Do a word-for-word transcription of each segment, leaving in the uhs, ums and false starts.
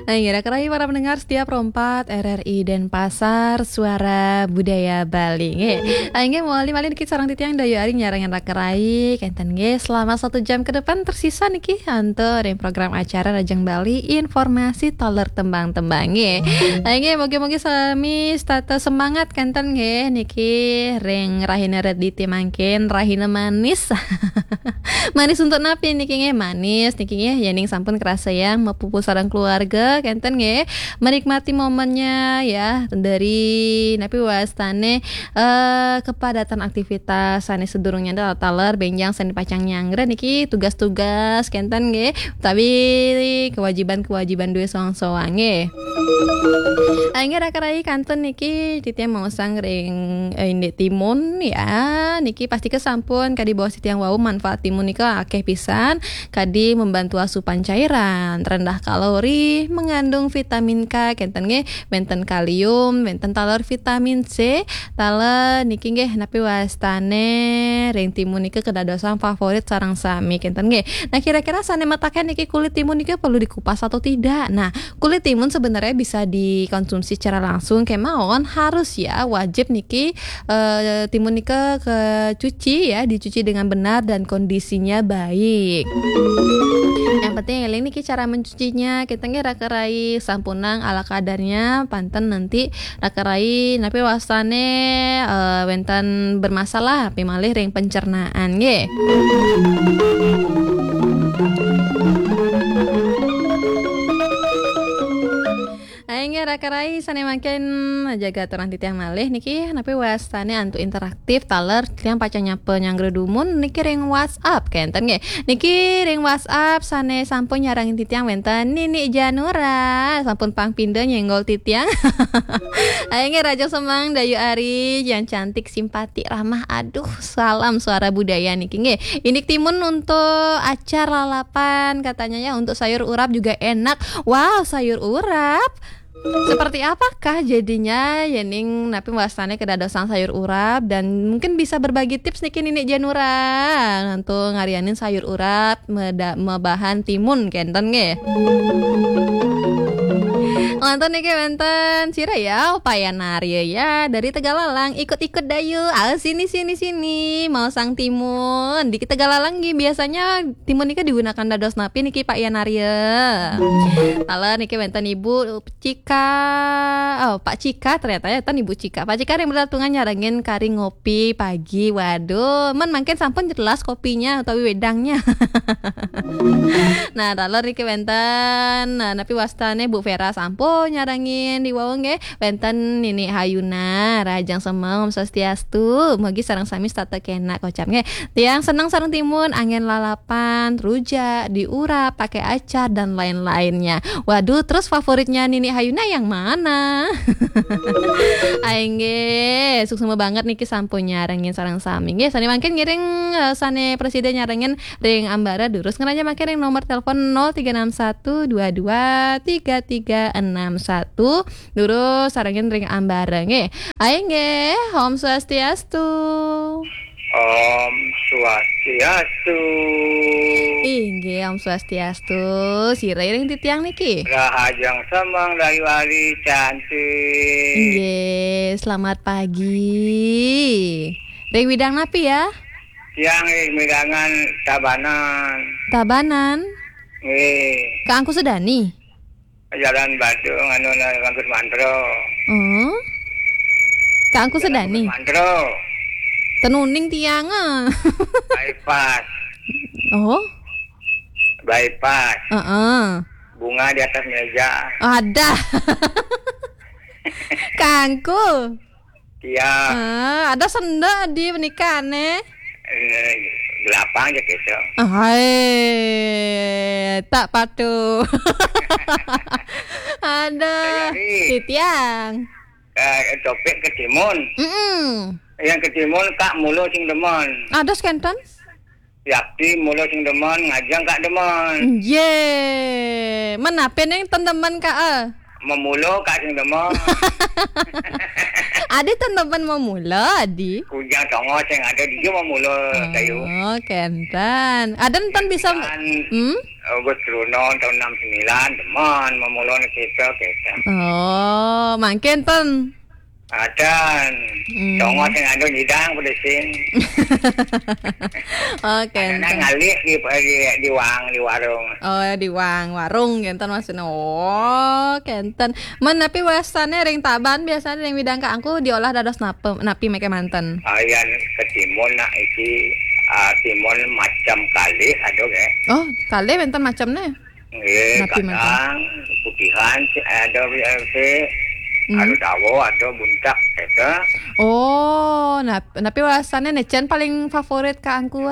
Inggih, raka rayi para pendengar setia Pro empat R R I Denpasar, Suara Budaya Bali. Inggih. Inggih, mawali malih niki sareng titiang Dayu Ari nyarengin raka rayi, kenten nggih. Selama satu jam ke depan tersisa niki antuk ring program acara Rajang Bali, informasi taler tembang-tembang nggih. Inggih, mugi-mugi sami setata semangat kenten nggih niki ring rahina Rediti mangkin, rahina manis. Manis untuk napi niki nggih? Manis niki nggih, yening sampun karasa yang mapupu sareng keluarga, kenten nggih. Menikmati momennya ya, dari napi wastane, eh, kepadatan aktivitas sane sedurungnya taler benjang sane pacang nyanggra niki tugas-tugas, kenten nggih. Tapi kewajiban-kewajiban duwe soang-soang nggih. Inggih raka rayi kantun niki titiang maosang ring, eh, indik timun ya. Niki pastika sampun kadi baos titiang wau manfaat timun nika akeh pisan. Kadi membantu asupan cairan, rendah kalori, mengandung vitamin K, kenten nggih, wenten kalium, wenten taler vitamin C, taler niki nggih napi wastane ring timun nika kedadosan favorit sareng sami kenten nggih. Nah, kira-kira sane mataken niki kulit timun nika perlu dikupas atau tidak? Nah, kulit timun sebenarnya bisa dikonsumsi secara langsung kemawon, harus ya, wajib niki, eh, timun nika kecuci ya, dicuci dengan benar dan kondisinya baik. Yang penting eling niki cara mencucinya, kita nggih raka rayi sampunang ala kadarnya, panten nanti raka rayi napi wastane, eh, wenten bermasalah, napi malih ring pencernaan nggih. Inggih raka rayi sane mangkin jaga aturang titiang malih niki, napi wastane antuk interaktif taler titiang pacang nyapa nyanggra dumun niki ring WhatsApp kenten nggih. Niki ring WhatsApp sane sampun nyarengin titiang wenten Nini Janura, sampun pang pinda nyenggol titiang. Inggih, Raja Semang, Dayu Ari, yang cantik, simpatik, ramah. Aduh, salam Suara Budaya niki nggih. Indik timun untuk acar lalapan katanya ya, untuk sayur urap juga enak. Wow, sayur urap. Seperti apakah jadinya yening napi wastane kedadosan sayur urap, dan mungkin bisa berbagi tips niki Nini Janura antuk ngarianin sayur urap meda-, mabahan timun kenten nggih. Wantun niki wenten sira ya, Payan Arya ya, dari Tegalalang, ikut-ikut Dayu. Ah, sini, sini, sini, maosang timun. Di Tegalalang nggih biasanya timun niki digunakan dados napi niki, Pak Yan Arya? Taler niki wenten Ibu Cika, oh, Pak Cika ternyata ya, ten Ibu Cika. Pak Cika ring Belatungan nyarengin kari ngopi pagi. Waduh, men mangkin sampun jelas kopinya utawi wedangnya. Nah, taler niki wenten, nah, napi wastane Bu Vera sampun nyarengin di wau nggih. Wenten Nini Hayuna, Rahajeng Semeng, Om Swastiastu. Mugi sareng sami setata kenak kocap nggih. Tiang seneng sareng timun, angin lalapan, rujak, diurap, pakai acar dan lain-lainnya. Waduh, terus favoritnya Nini Hayuna yang mana? Ayo nggih, suksma banget niki sampun nyarengin sareng sami. Nggih, sane mangkin ngiring, eh, sane presida nyarengin ring ambara durus ngrajang mangkin ring nomor telepon nol tiga enam satu dua dua tiga tiga enam satu. Durus sarengin ring ambara nggih. Ayo nggih, Om Swastiastu. Om Swastiastu. Inggih, Om Swastiastu. Sira ring titiang niki. Rahajeng Semeng Dayu Ari cantik. Inggih, selamat pagi. Ring widang napi ya? Tiang ring widangan Tabanan. Tabanan? Nggih. Kak Angku Sedani? Jalan Badung anu na-, Langgur Mantro. Oh. Kak Angku Jalan Sedani? Langgur Mantro. Ten uning tiang, ah. Bypass. Oh. Bypass. Heeh. Bunga di atas meja. Ada. Kangku. Iya. Ah, ada senda di pernikahan, eh? Eh, gelapang aja gitu. Hai, tak patuh. Ada. Saya Ri. Titiang. Eh, topik ketimun. Mm-mm. Yang ketimun Kak Mulo sing demen. Ada sekenten? Yakti mulo sing demen, ngajeng Kak demen. Ye, menape neng ten demen Kak, eh? Memulo Kak sing demen. Adi ten nemen memula, Adi. Kujang Tongo sing ada di mana mula kayu. Oh, kenten. Ada ten bisa. Kan, hmm? Agus Truno tahun enam sembilan, demen memula ni kita, kita. Oh, mangkin ten. Adan. Hmm. Tongo sing ada nyidang pada sing. Oh, kenten. Ngalih di, di, di wang, di warung. Oh, di wang, warung, kenten maksudnya. Oh, kenten. Men, napi wasane ring Tabanan biasane ring widang kangku diolah dados napa, napi meke manten? Ah, yan ketimun nak iki, ah, timun macam kalih ada ke? Oh, kalih wenten macamne? Nggih, napi manten? Kadang putihan ada, eh, sih. Hmm. Ada dawa, ada buntak, gitu. Oh, nap-, napi wasane ne cen paling favorit kangku?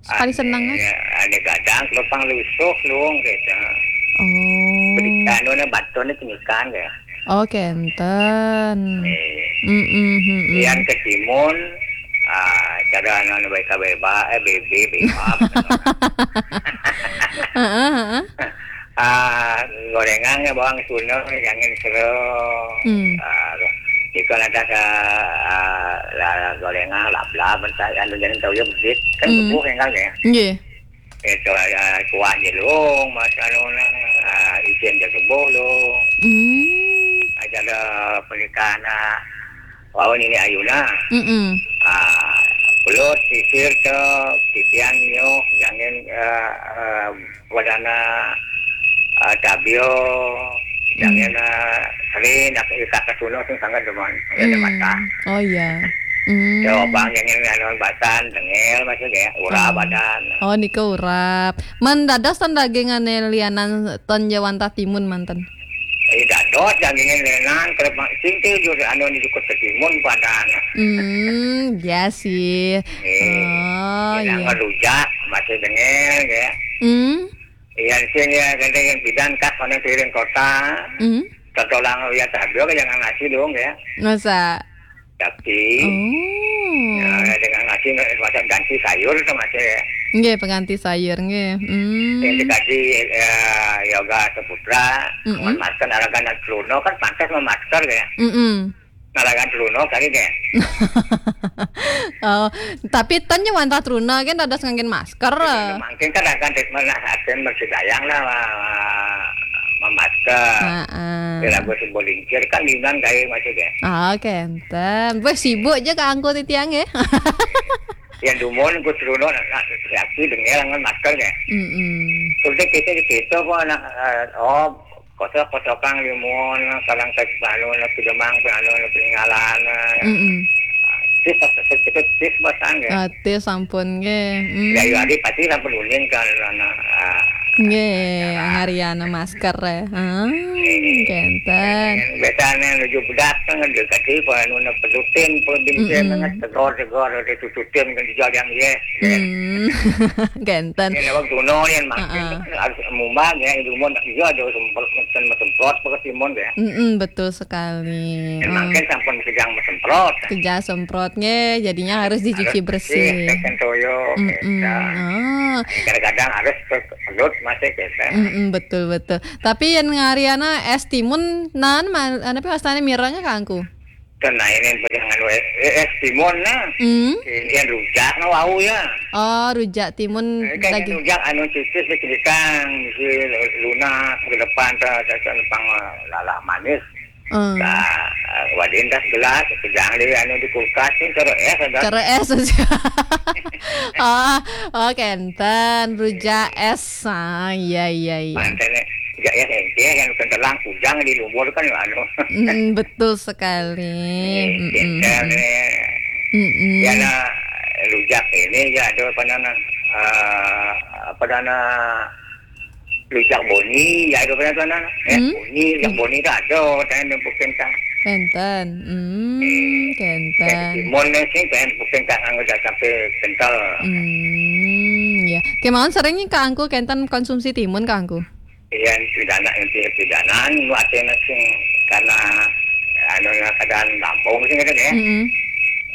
Paling seneng, eh? Ada gadang, kelopang lusuh, luung, gitu. Oh. Beri anu ne, batone cenikan, ya. Oh, kenten. Eh. Mm-mm, mm-mm. Yan ketimun, ah, cara anu, anu, beka beba, eh, bebe, beba. Heeh, heeh. Ah, gorengan ya bawang suna, jangan sero. Hmm. Ah, ikan ada sa, ah, la, gorengan, lap-lap, entah, anu, jangan tahu ya, besit. Kan hmm. Kebuh, kan, ya. Nggih. Itu, ah, kuah jelung, mas, anu, nang, ah, isin je kebuh, lu. Hmm. Aja ada pernikahan, ah, wau nini ayuna. Mm-mm. Ah, pulut, sisir, tu, titian, nyoh, jangan, ah, ah, wadana, ah, tabio, jangan, hmm. Ah, seri, nak ikat ke sunu, sing sangat demen. Ada hmm. Mata. Oh, iya. Hmm. Ya, obang, jangan, anu, batan, tengel, maksudnya, urap, oh. Badan. Oh, nika urap. Men dados ten dagingane lianan ten ja wantah timun manten? Eh, dados dagingin lenan, kalau mak-, sing te jur anu ni jukut ketimun padan. Hmm, ya sih. Eh, oh, iya. Rujak, masih dengel, ya. Hmm. Iya, sing ya, kadang yang bidan kak, mana piring kota. Hmm. Tertolong ya, tabio, jangan nasi dong, ya. Masa? Tapi, oh. Ya, dengan nasi, masak ganti sayur tu masih, ya. Nggih, pengganti sayur, nggih. Hmm. Yang dikasih, ya, Yoga Saputra, mm-mm. Memasker, aragan dan Truno kan pantas memasker, ya. Mm-mm. Naragan Truno kali, ya. Oh, tapi ten ja wantah Truno kan dados ngangge masker. Iya, mungkin kan akan treatment lah, akan bersih sayang lah, ma-, memasker. Heeh. Kira gue si Bolingkir kan linan kayak masih, ya. Ah, oke. Ten, weh, sibuk ja kangku titiang, ya. Yang dumun, ku Truno, nak, nak, laki dengar dengan masker, ya. Mm-mm. Terus kita di situ, kok, anak, eh, oh, kosok-kosokan limun, kadang saya anu, nak pidemang, anu, nak peninggalan, eh. Mm-mm. Tis, tis, tis, tis, batang, ya. Ah, tis, sampun, nggih. Mm. Ya, ya, adi pasti sampun uning kan, anak, ah. Nggih, ngariana masker, ya. Ah, nggih. Kenten. Biasanya nuju bedak kan, dekati, anu, nak pedutin, pun bintin, mm-mm. Tegor, tegor, ada tututin, kan, dijal yang, ya. Hmm. Kenten. Ini lewat Juno yang makin heeh. Harus mumbang ya, itu mau iya ada semprot, semprot pakai timun ya. Mm-mm, betul sekali. Yang makin sampun kejang semprot. Kejang semprot nggih, jadinya harus dicuci harus bersih, bersih. Tekan toyo, mm-mm. Kita. Ah. Kadang-kadang harus ke-, kelut masih kita. Mm-mm, betul, betul. Tapi yang ngariana es timun, nan, ma-, anu, pi wastane mirengnya kangku? Kan nah, ini pegangan we-, eh, es timun, nah. Hmm. Ini yang rujak, nah, wau, ya. Oh, rujak timun. Ini kan daging. Rujak anu tipis, dikidikang, si lunak, ke depan, ta, ta, ta, pang, eh, lalak manis. Hmm. Ta, eh, wadin tas gelas, pegang di, anu, di kulkas, ni cara es ada. Cara es aja. Oh, oh, kenten, rujak es. Ah, iya, iya, iya. Mantan, ya, ya, ya, yang kentelang kujang di lumpur kan, anu. Mm, betul sekali. Eh, mm-mm. Kentel, eh. Mm-mm. Ya, nah, rujak ini, ya, ada apa nama, eh, apa nama, rujak boni, ya, ada apa nama, eh, hmm? Boni, rujak boni itu ada, saya nempukin kan. Kenten. Hmm, eh, kenten. Eh, timun, eh, sih, saya nempukin kan, udah sampai kental. Hmm, ya. Kemauan seringnya kangku kenten konsumsi timun kangku? Iya, pidana, inti pidanan, nu ate na sing karena, anu, na keadaan kampung sing kata ya. Mm-mm.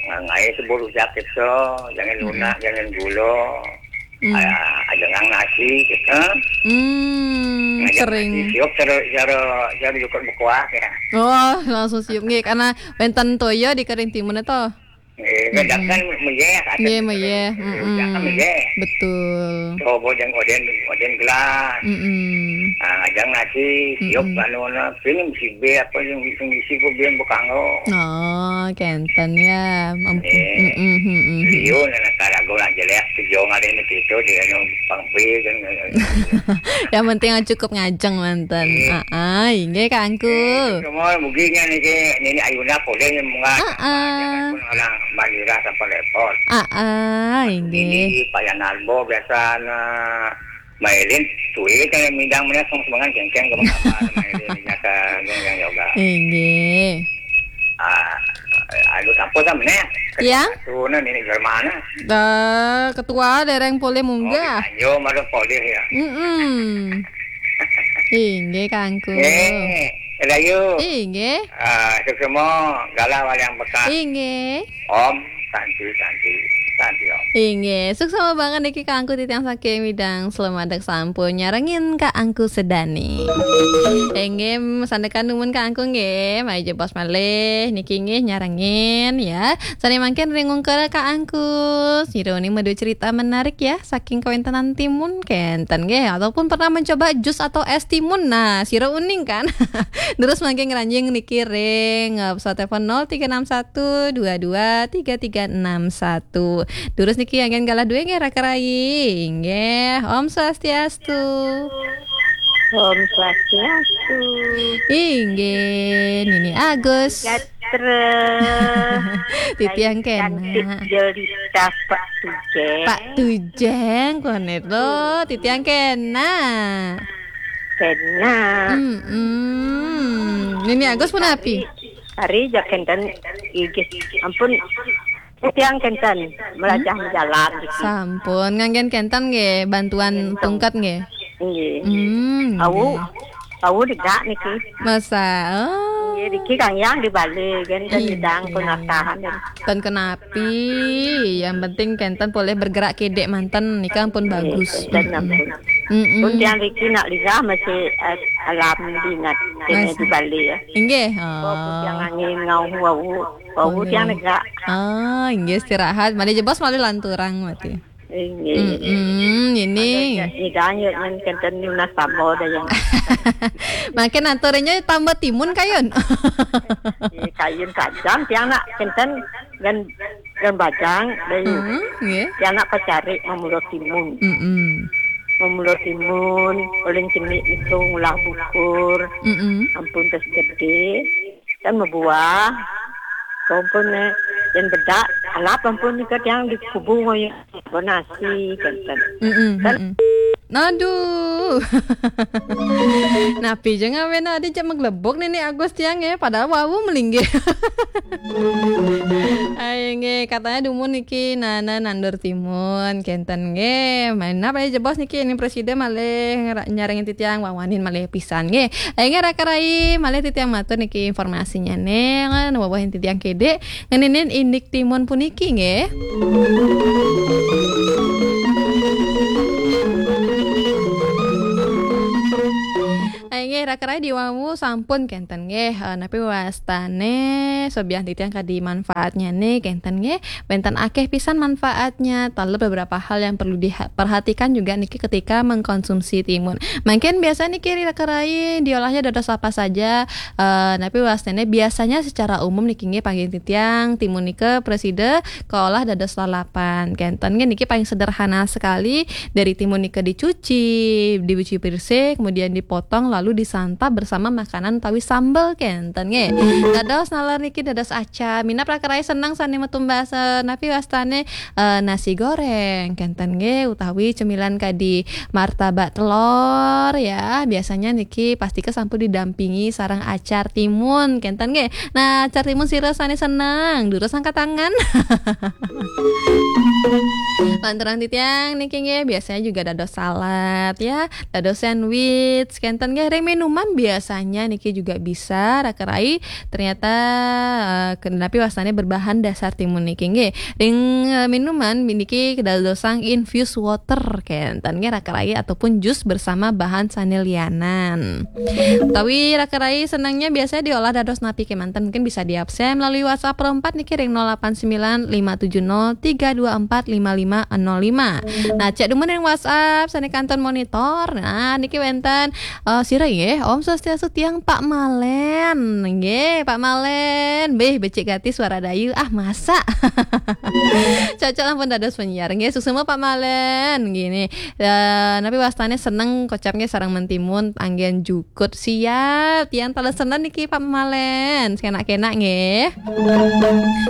Ngai seburu jakit so, jangan lunak, jangan gulo. Hmm. Ah, ajengang nasi gitu. Hmm, ngajeng sering. Nasi siup cara, cara, cara jukut bekuah ya. Oh, langsung siup nggih, karena wénten toya di kering timun to. Eh, mm-mm. Kadang kan meyeh, ada nggih, gitu. Meyeh. Mm-mm. Jangan meyeh. Betul. Coba jeng odén, odén gelas. Mm-mm. Ah, ngajeng nasi, siup mm-mm. Anu na, pining si bé apa yang bisa ngisi ku biang bekanggo. Oh, kénten ya. Ampun. Eh, mm-mm, mm-mm. Liun anak karago nak jelek, sejauh ada ini gitu, di anu pangpi kan. Yang penting cukup ngajeng manten. Eh. Ah, ah, inggih Kak Angku. Eh, semua muginya nih, Nini Ayuna polih munggah. Ah, ah. Orang Malira sampai repot. Ah, ah, inggih. Ini Pak Yanarbo biasa na mailin suwe kan midang mana song semangan kengkeng ke mengapa mailin nyata gong yang yoga. Inggih. Ah, aduh, apa sama nih? Ya. Tuh, nah, ini gimana? Eh, ketua dereng polih munggah. Oh, yo, malah polih ya. Mm-mm. Inggih, Kangku. Eh, Rayu. Inggih. Ah, suksma, galah wayang bekas. Inggih. Om, santi, santi, santi, Om. Inggih, suksma banget niki Kangku titiang saking Midang. Selamat dek sampun nyarengin Kak Angku Sedani. Inggih, sandekan dumun Kak Angku nggih. Mari jebos malih niki nggih nyarengin ya. Sane mangkin ring ungkur Kak Angku. Sira uning madu cerita menarik ya saking kawentenan timun kenten nggih, ataupun pernah mencoba jus atau es timun. Nah, sira uning kan. Terus mangkin ngranjing niki ring, eh, pesawat telepon nol tiga enam satu dua dua tiga tiga enam satu. Terus niki anggen galah duwe nggih Raka Rai. Nggih, Om Swastiastu. Om Swastiastu. Inggih, Nini Agus. Gatra. Titiang kena. Cantik jelita Pak Tujeng. Pak Tujeng, konet lo. Titiang kena. Kena. Mm-mm. Nini Agus pun api? Hari, hari jak kenten igis. Ampun. Tiang kenten melajah menjalan gitu. Sampun, nganggen kenten nggih, bantuan tungkat nggih. Nggih. Hmm, au, nggih. Au degak niki. Masa, oh. Nggih, niki Kang Yang di Bali, kenten. Iya, bidang iya. Penatahan. Ten kenapi, yang penting kenten boleh bergerak kedek manten, nika pun nggih, bagus. Kenten ampun. Mm-mm. Pun tiang niki nak lidah masih, eh, alam dinat, kene di Bali ya. Inggih. Oh. Tiang angin ngau wau. Bau tiang negak. Ah, inggih istirahat. Mari jebos mari lanturang mati. Inggih. Mm-mm, ini. Nyidang yuk yang kenten nunas tambah dah yang. Makin aturnya tambah timun kayun. Iya, kayun kajam tiang nak kenten gan gan bajang dah yuk. Mm-mm, nggih. Tiang nak pacari memulo timun. Mm-mm. Memulo timun, paling cenik itu ngulah bukur. Mm-mm. Ampun tes gede. Kan mabuah. Kompon, eh, yang bedak, alap ampun nika tiang di kubu ngoyo. Bonasi, kenten. Mm-mm, kan mm-mm. Aduh. Napi je ngawen adi cek meglebok nini Agus tiang ya, padahal wawu melinggih. Ayo nggih, katanya dumun niki nana nandur timun, kenten nggih. Main apa ya jebos niki ini presiden malih ngera-, nyarengin titiang wawanin malih pisan nggih. Ayo nggih Raka Rai, malih titiang matur niki informasinya nih, kan wawahin titiang kede, ngeninin indik timun puniki nggih. Ayo nggih, Raka Rai diwawu sampun kenten nggih. Eh, napi wastane sobian titiang kadi manfaatnya nih kenten nggih. Wenten akeh pisan manfaatnya. Talep beberapa hal yang perlu diperhatikan juga niki ketika mengkonsumsi timun. Mungkin biasa niki Raka Rai diolahnya dados apa saja. Eh, napi wastane biasanya secara umum niki nggih panggih titiang timun nika preside keolah dados lalapan. Kenten nggih niki paling sederhana sekali. Dari timun nika dicuci, dicuci bersih, kemudian dipotong lalu disantap bersama makanan utawi sambel kenten nggih. Dados nalar niki dados acar. Minab Raka Rai seneng sane metumbasa napi wastane, eh, nasi goreng kenten nggih utawi cemilan kadi martabak telur ya. Biasanya niki pasti ke sampun didampingi sareng acar timun kenten nggih. Nah, acar timun sira sane seneng, durus angkat tangan. Lantaran titiang niki nggih biasanya juga dados salad ya, dados sandwich, kenten nggih ring minuman biasanya niki juga bisa raka rai. Ternyata eh, ke- napi wastane berbahan dasar timun niki nggih. Ring eh, minuman niki dadosang infused water kenten nggih raka rai ataupun jus bersama bahan sane lianan. Utawi raka rai senengnya biasanya diolah dados napi kemanten, mungkin bisa diabsen melalui WhatsApp Pro empat niki ring nol delapan sembilan lima tujuh nol tiga dua empat lima lima nol lima. Nah, cek dumun ring WhatsApp sane kantun monitor. Nah, niki wenten eh, sira nggih, Om Swastiastu tiang Pak Malen. Nggih, Pak Malen. Beh, becik gati suara dayu. Ah, masa? Cocok ampun dados penyiar. Nggih, suksma Pak Malen. Nggih, nih. Eh, napi wastane seneng kocap nggih sareng mentimun anggen jukut. Siap. Tiang talesenan niki Pak Malen. Sekenak-kenak nggih.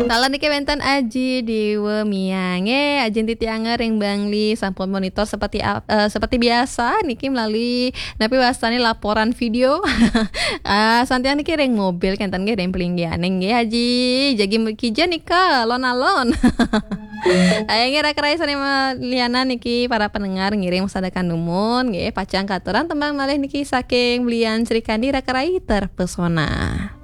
Taler niki wenten Aji Dewa Mia nggih. Aji titiang ring Bangli sampun monitor seperti ap- eh, seperti biasa niki melalui napi wastane laporan video. Ah, santiang niki ring mobil kenten nggih ring pelinggihane nggih Aji. Jagi kija nika lon-alon. Ayo nggih raka rai sane lianan niki para pendengar ngiring masadekan dumun nggih pacang katuran tembang malih niki saking Belian Sri Kandi raka rai terpesona.